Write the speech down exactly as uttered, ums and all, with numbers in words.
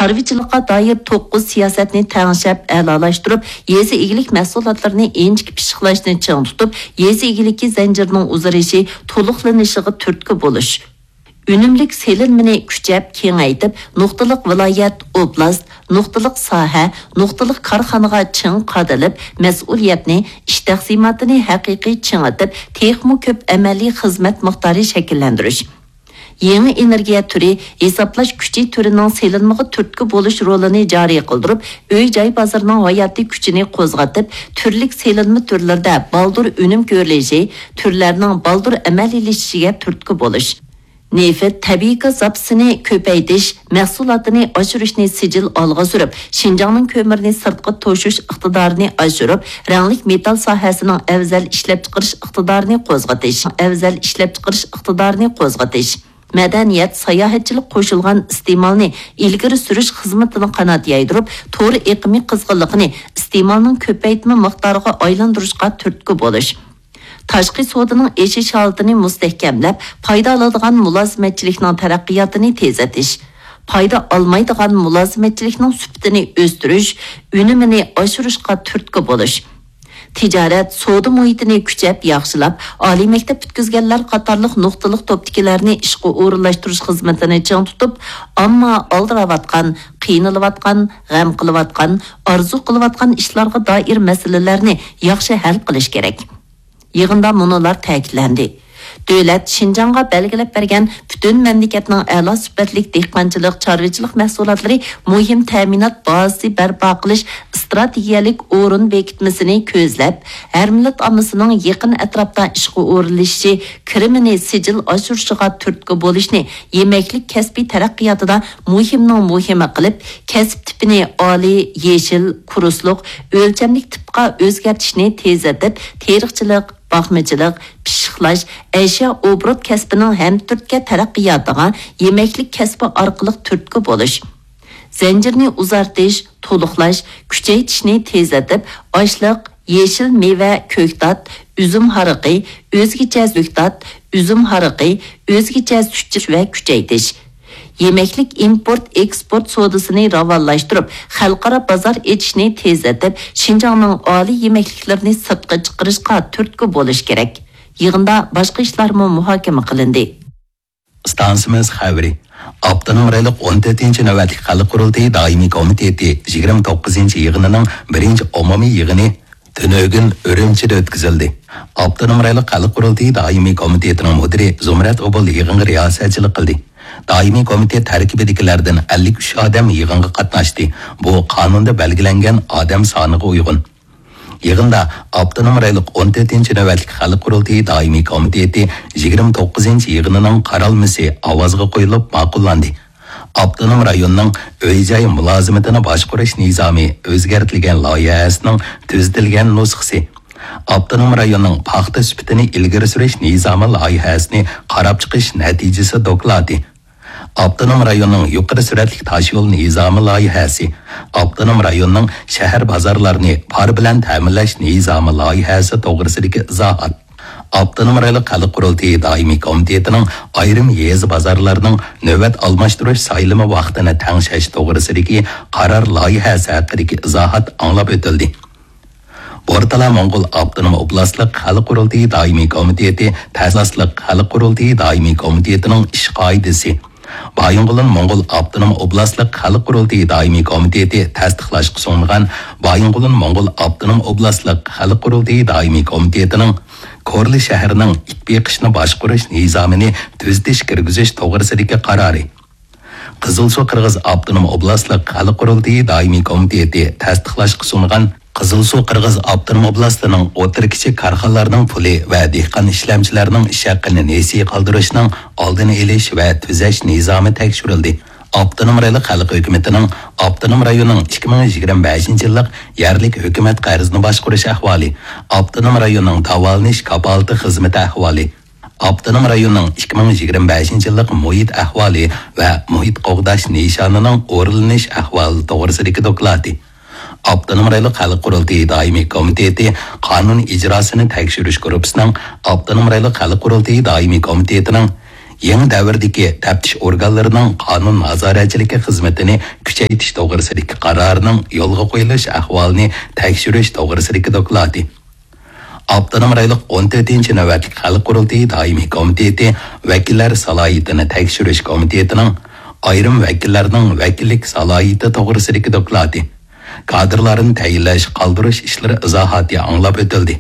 چارۋىچىلىققا دائىر توققۇز سىياسەتنى تەڭشەپ ئەلالاشتۇرۇپ، يېزا ئىگىلىك مەھسۇلاتلىرىنى ئىنچىكە پىششىقلاشنى چىڭ تۇتۇپ، يېزا ئىگىلىكى زەنجىرىنىڭ ئۇزىرىشى تولۇقلىنىشىغا تۈرتكە بولۇش. ئۈنۈملۈك سېلىنمىنى كۈچەپ كېڭەيتىپ، نۇقتىلىق ۋىلايەت، ئوبلاست، نۇقتىلىق ساھە، نۇقتىلىق كارخانىغا چىڭ قادىلىپ، مەسئۇلىيەتنى، ئىش تەقسىماتىنى ھەقىقىي چىڭىتىپ، تېخىمۇ كۆپ ئەمەلىي خىزمەت مىقدارى شەكىللەندۈرۈش. يېڭى ئېنېرگىيە تۈرى، ھېسابلاش كۈچى تۈرىنىڭ سېلىنمىغا تۈرتكە بولۇش رولىنى جارى قىلدۇرۇپ، ئۆي-جاي بازىرىنىڭ ھاياتىي كۈچىنى قوزغىتىپ، تۈرلۈك سېلىنما تۈرلىرىدە بالدۇر ئۈنۈم كۆرۈلۈشى، تۈرلەرنىڭ بالدۇر ئەمەلىيلىشىشىگە تۈرتكە بولۇش. نېفىت، تەبىئىي گاز زاپىسىنى كۆپەيتىش، مەھسۇلاتىنى ئاشۇرۇشنى سىجىل ئالغا سۈرۈپ، شىنجاڭنىڭ كۆمۈرنى سىرتقا توشۇش ئىقتىدارىنى ئاشۇرۇپ، رەڭلىك مېتال ساھەسىنىڭ ئەۋزەل ئىشلەپچىقىرىش ئىقتىدارىنى قوزغىتىش، ئەۋزەل ئىشلەپچىقىرىش ئىقتىدارىنى قوزغىتىش. مەدەنىيەت، ساياھەتچىلىك قوشۇلغان ئىستېمالنى ئىلگىرى سۈرۈش خىزمىتىنى قانات يايدۇرۇپ، تور ئېقىمى قىزغىنلىقىنى ئىستېمالنىڭ كۆپەيتمە مىقدارىغا ئايلاندۇرۇشقا تۈرتكە بولۇش. تاشقى سودىنىڭ ئېشىش ھالىتىنى مۇستەھكەملەپ، پايدا ئالىدىغان مۇلازىمەتچىلىكنىڭ تەرەققىياتىنى تېزلىتىش، پايدا ئالمايدىغان مۇلازىمەتچىلىكنىڭ سۈپىتىنى ئۆستۈرۈش، ئۈنۈمىنى ئاشۇرۇشقا تۈرتكە بولۇش. تىجارەت، سودا مۇھىتىنى كۈچەپ ياخشىلاپ، ئالىي مەكتەپ پۈتكۈزگەنلەر قاتارلىق نۇقتىلىق توپتىكىلەرنى ئىشقا ئورۇنلاشتۇرۇش خىزمىتىنى چىڭ تۇتۇپ، ئامما ئالدىراۋاتقان، قىينىلىۋاتقان، غەم قىلىۋاتقان، ئارزۇ قىلىۋاتقان ئىشلارغا دائىر مەسىلىلەرنى ياخشى ھەل قىلىش كېرەك. يىغىندا مۇنۇلار تەكىتلەندى. دۆلەت شىنجاڭغا بەلگىلەپ بەرگەن پۈتۈن مەملىكەتنىڭ ئەلا سۈپەتلىك دېھقانچىلىق، چارۋىچىلىق مەھسۇلاتلىرى مۇھىم تەمىنات بازىسى بەرپا قىلىش ئىستراتېگىيەلىك ئورۇن بېكىتمىسىنى كۆزلەپ، ھەر مىللەت ئاممىسىنىڭ يېقىن ئەتراپتا ئىشقا ئورۇنلىشىشى، كىرىمىنى سىجىل ئاشۇرۇشىغا تۈرتكە بولۇشنى يېمەكلىك كەسپى تەرەققىياتىدا مۇھىمنىڭ مۇھىمى قىلىپ، كەسىپ تىپىنى ئالىي، يېشىل، كۇرسلۇق، ئۆلچەملىك تىپقا ئۆزگەرتىشنى تېزلىتىپ، تېرىقچىلىق، باقمىچىلىق، پىششىقلاش، ئەشيا ئوبوروت كەسپىنىڭ ھەمتۈرتكە تەرەققىياتىغا يېمەكلىك كەسپى ئارقىلىق تۈرتكە بولۇش، زەنجىرنى ئۇزارتىش، تولۇقلاش، كۈچەيتىشنى تېزلىتىپ، ئاشلىق، يېشىل مېۋە، كۆكتات، ئۈزۈم ھارىقى، ئۆزگىچە كۆكتات، ئۈزۈم ھارىقى، ئۆزگىچە سۈت ۋە كۈچەيتىش. يېمەكلىك ئىمپورت ئېكسپورت سودىسىنى راۋانلاشتۇرۇپ، خەلقئارا بازار ئېچىشنى تېزلىتىپ، شىنجاڭنىڭ ئالىي يېمەكلىكلىرىنى سىرتقا چىقىرىشقا تۈرتكە بولۇش كېرەك. يىغىندا باشقا ئىشلارمۇ مۇھاكىمە قىلىندى. ئىستانسىمىز خەۋىرى. ئاپتونوم رايونلۇق ئون تۆتىنچى نۆۋەتلىك خەلق قۇرۇلتىيى دائىمىي كومىتېتى يىگىرمە توققۇزىنچى يىغىنىنىڭ بىرىنچى ئومۇمىي يىغىنى تۈنۈگۈن ئۈرۈمچىدە ئۆتكۈزۈلدى. ئاپتونوم رايونلۇق خەلق قۇرۇلتىيى دائىمىي كومىتېتىنىڭ مۇدىرى زۇمرەت ئوبۇل يىغىنغا رىياسەتچىلىك قىلدى. دائىمىي كومىتېت تەركىبىدىكىلەردىن ئەللىك ئۈچ ئادەم يىغىنغا قاتناشتى. بۇ قانۇندا بەلگىلەنگەن ئادەم سانىغا ئۇيغۇن. يىغىندا ئاپتونوم رايونلۇق ئون تۆتىنچى نۆۋەتلىك خەلق قۇرۇلتىيى دائىمىي كومىتېتى يىگىرمە توققۇزىنچى يىغىنىنىڭ قارالمىسى ئاۋازغا قويۇلۇپ ماقۇللاندى. ئاپتونوم رايوننىڭ ئۆي-جاي مۇلازىمىتىنى باشقۇرۇش نىزامى ئۆزگەرتىلگەن لايىھەسىنىڭ تۈزىتىلگەن نۇسخىسى، ئاپتونوم رايوننىڭ پاختا سۈپىتىنى ئىلگىرى سۈرۈش نىزامى لايىھەسىنى قاراپ چىقىش نەتىجىسى دوكلاتى، ئاپتونوم رايوننىڭ يۇقىرى سۈرئەتلىك تاشيول نىزامى لايىھەسى، ئاپتونوم رايوننىڭ شەھەر بازارلارنى پار بىلەن تەمىنلەش نىزامى لايىھەسى توغرىسىدىكى ئىزاھات، ئاپتونوم رايونلۇق خەلق قۇرۇلتىيى دائىمىي كومىتېتىنىڭ ئايرىم يېزا بازارلارنىڭ نۆۋەت ئالماشتۇرۇش سايلىمى ۋاقتىنى تەڭشەش توغرىسىدىكى قارار لايىھەسى ھەققىدىكى ئىزاھات ئاڭلاپ ئۆتۈلدى. بورتالا موڭغۇل ئاپتونوم ئوبلاستلىق خەلق قۇرۇلتىيى دائىمىي كومىتېتى تەسىسلىق خەلق قۇرۇلتىيى دائىمىي كومىتېتىنىڭ ئىش قائىدىسى، بايىنغولىن موڭغۇل ئاپتونوم ئوبلاستلىق خەلق قۇرۇلتىيى دائىمىي كومىتېتى تەستىقلاشقا سۇنغان بايىنغولىن موڭغۇل ئاپتونوم ئوبلاستلىق خەلق قۇرۇلتىيى دائىمىي كومىتېتىنىڭ كورلا شەھىرىنىڭ ئىت بېقىشنى باشقۇرۇش نىزامىنى تۈزىتىش كىرگۈزۈش توغرىسىدىكى قارارى، قىزىلسۇ قىرغىز ئاپتونوم ئوبلاستلىق خەلق قۇرۇلتىيى دائىمىي كومىتېتى تەستىقلاشقا سۇنغان قىزىلسۇ قىرغىز ئاپتونوم ئوبلاستىنىڭ ئوتتۇرا، كىچىك كارخانىلارنىڭ پۇلى ۋە دېھقان ئىشلەمچىلەرنىڭ ئىش ھەققىنى نېسى قالدۇرۇشنىڭ ئالدىنى ئېلىش ۋە تۈزەش نىزامى تەكشۈرۈلدى. ئاپتونوم رايونلۇق خەلق ھۆكۈمىتىنىڭ ئاپتونوم رايوننىڭ ئىككى مىڭ يىگىرمە بەشىنچى يىللىق يەرلىك ھۆكۈمەت قەرزىنى باشقۇرۇش ئەھۋالى، ئاپتونوم رايوننىڭ داۋالىنىش كاپالىتى خىزمىتى ئەھۋالى، ئاپتونوم رايوننىڭ ئىككى مىڭ يىگىرمە بەشىنچى يىللىق مۇھىت ئەھۋالى ۋە مۇھىت قوغداش نىشانىنىڭ ئورۇنلىنىش ئەھۋالى توغرىسىدىكى دوكلاتى، ئاپتونوم رايونلۇق خەلق قۇرۇلتىيى دائىمىي كومىتېتى قانۇن ئىجراسىنى تەكشۈرۈش گۇرۇپپىسىنىڭ ئاپتونوم رايونلۇق خەلق قۇرۇلتىيى دائىمىي كومىتېتىنىڭ يېڭى دەۋردىكى تەپتىش ئورگانلىرىنىڭ قانۇن نازارەتچىلىكى خىزمىتىنى كۈچەيتىش توغرىسىدىكى قارارنىڭ يولغا قويۇلۇش ئەھۋالىنى تەكشۈرۈش توغرىسىدىكى دوكلاتى. ئاپتونوم رايونلۇق ئون تۆتىنچى نۆۋەتلىك خەلق قۇرۇلتىيى دائىمىي كومىتېتى ۋەكىللەر سالاھىيىتىنى تەكشۈرۈش كومىتېتىنىڭ ئايرىم ۋەكىللەرنىڭ ۋەكىللىك سالاھىيىتى توغرىسىدىكى دوكلاتى. كادىرلارنى تەيىنلەش، قالدۇرۇش ئىشلىرى ئىزاھاتى ئاڭلاپ ئۆتۈلدى.